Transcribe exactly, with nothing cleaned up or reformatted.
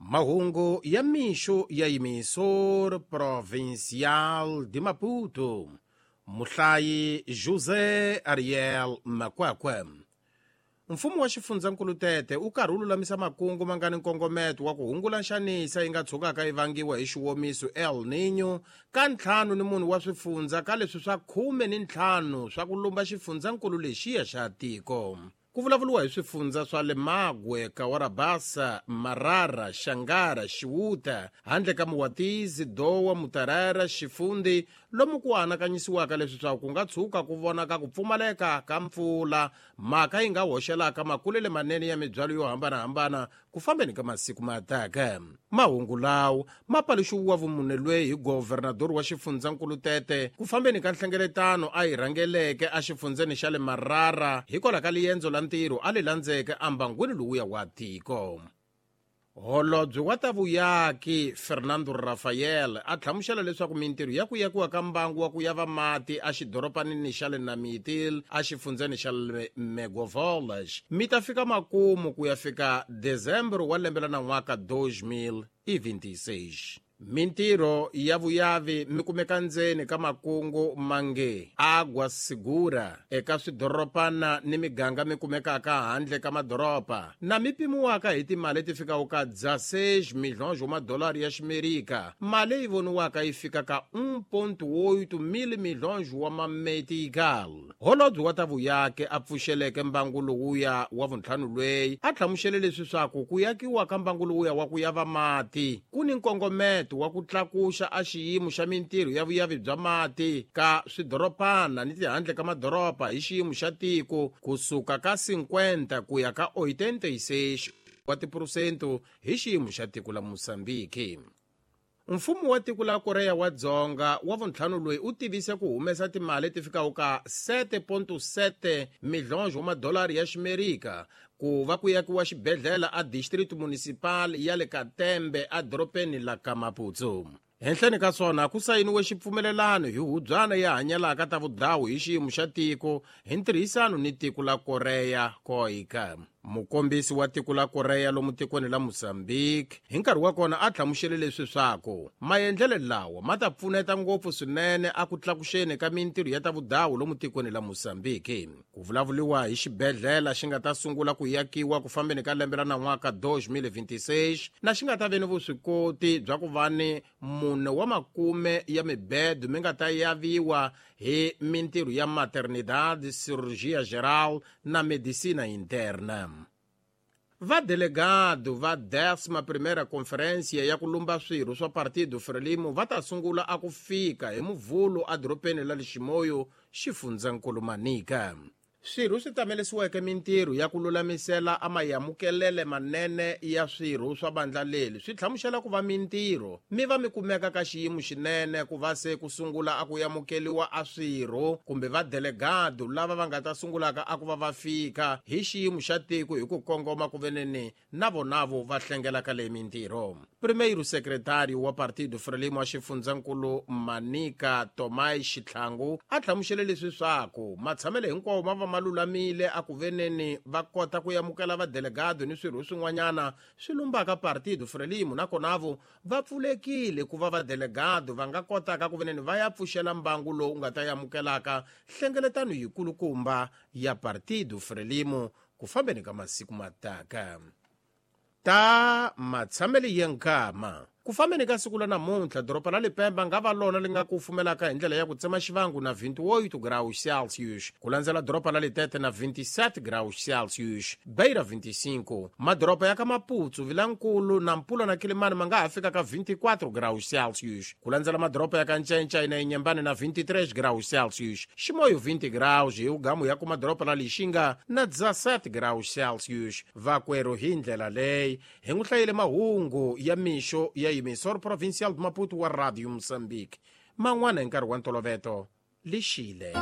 Mahungu ya mixo ya Emissora Provincial de Maputo. Muhlayi José Ariel Makwakwe. Mfumo wa xifundzankulu Tete u karhi wu lulamisa makungu ma nga ni nkongometo wa ku hungula nxanisa yi nga tshukaka yi vangiwa hi xiwomiso El Niño ka ntlhanu ni munhu wa swifundza ka leswi swa khume ni ntlhanu swa ku lumba xifundzankulu lexiya xa tiko. Ku vulavuriwa hi swifundza swa Lemagwe, Kawarabasa, Marara, Xangara, Xiwuta, handle ka Muwatizi, Dowa, Mutarara, Xifundi, lomu ku anakanyisiwaka leswi swa ku nga tshuka ku vonaka ku pfumaleka ka mpfula, mhaka yi nga hoxelaka makulele manene ya mibyalo yo hambanahambana ku fambeni ka masiku ma taka. Mahungu lawo ma paluxiwa vumune lweyi hi governador wa xifundzankulu Tete ku fambeni ka nhlengeletano a yi rhangeleke exifundzeni xa le Marara hikwalaho ka liendzo la ntirho a li landzeke ambangwini lowuya wa tiko. Holobye wa ta vuyaki Fernando Rafael a hlamusela leswaku mintirho ya ku yakiwa ka mbangu wa ku yava mati exidoropanini xa le Namitil exifundzeni xa le Megovolas mi ta fika makumu ku ya fika Dezembro wa lembe la nan'waka dois mil e vinte e seis. Mintirho ya vuyavi mi kumeka ndzeni ka makungu mange Agua Segura eka swidoropana ni miganga mi kumekaka handle ka madoropa na mi pimiwaka hi timali leti fikaka ka dezesseis milhões wa madolari ya ximerika, mali leyi voniwaka yi fika ka um ponto oito mil milhões wa mametical. Holobye wa ta vuyaki a pfuxeleke mbangu lowuya wa vuntlhanu lweyi a hlamusele leswi swaku ku yakiwa ka mbangu lowuya wa ku yava mati ku ni nkongometo wa ku tlakuxa a xiyimo xa mintirho ya vuyavi bya mati ka swidoropana ni tihandle ka madoropa hi xiyimo xa tiko kusuka ka cinquenta ku ya ka oitenta e seis wa tiphurosento hi xiyimo xa tiko la Mozambique. Mfumo wa tiko la Korea wa Dzonga wa vuntlhanu loyi u tivise ku humesa timali ti fikaka ka sete ponto sete milhões wa madolari ya ximerika ku va ku yakiwa xibedhlele a district municipal ya le Katembe edorobeni la Kamaputsu. Henhleni ka swona ku sayiniwe xipfumelelano hi hubyana ya hanyelaka ta vudhawu hi xiyimo xa tiko hi ntirhisano ni tiko la Korea KOICA. Mukombisi wa tiko la Korea lomu tikweni la Mozambique hi nkarhi wa kona a hlamusele leswi swaku maendlelo lawa ma ta pfuneta ngopfu swinene a ku tlakuxeni ka mintirho ya ta vudhawu lomu tikweni la Mozambique. Ku vulavuriwa hi xibedhlele xi nga ta sungula ku yakiwa ku fambeni ka lembe ra nan'waka dois mil e vinte e seis na xi nga ta ve ni vuswikoti bya ku va ni mune wa makume ya mibedo mi nga ta yaviwa hi mintirho ya maternidade, cirurgia geral na medicina interna. Vadelegado va décima primeira conferência ya ku lumba swirho swa Partido Frelimo va ta sungula a ku fika hi Muvhulo edorobeni la Liximoyo, xifundzankulu Manica. Swirho swi tamelesiweke mintirho ya ku lulamisela a mayamukelele manene ya swirho swa vandla leri swi hlamusela ku va mintirho mi va mi kumeka ka xiyimo xinene ku va se ku sungula a ku yamukeliwa a swirho kumbe vadelegado lava va nga ta sungulaka a ku va va fika hi xiyimo xa tiko hi ku kongoma ku veneni na vonavo va hlengelaka leyi mintirho. Primeiro secretário wa Partido Frelimo wa xifundzankulu Manica Tomai Xitlhangu a hlamusele leswi swaku matshamelo hinkwawo ma va ma lulamile a ku veneni va kota ku yamukela vadelegado ni swirho swin'wanyana swi lumbaka Partido Frelimo nakonavo va pfulekile ku va vadelegado va nga kotaka ku veneni va ya pfuxela mbangu lowu nga ta yamukelaka hlengeletano yikulukumba ya Partido Frelimo ku fambeni ka masiku mataka. Ta matshamelo ya nkama ku fambeni ka siku la namuntlha doroba la Lipemba nga va lona li nga kufumelaka hi ndlela ya ku tsema xivangu na vinte e oito graus Celsius, ku landzela doroba la Litete na vinte e sete graus Celsius, Beira vinte e cinco, madoroba ya ka Maputo, Vilankulu, Nampula na Kilimani ma nga ha fika ka vinte e quatro graus Celsius, ku landzela madoroba ya ka Ncencai na Inhambane na vinte e três graus Celsius, Chimoio vinte graus hi ugamu ya ku madoroba la Lixinga na dezessete graus Celsius. Vakwerhu hi ndlela leyi hi n'wi hlayile mahungu ya mixo ya Emissora Provincial de Maputo wa Radio Moçambique. Man'wana hi nkarhi wa ntoloveto lixile.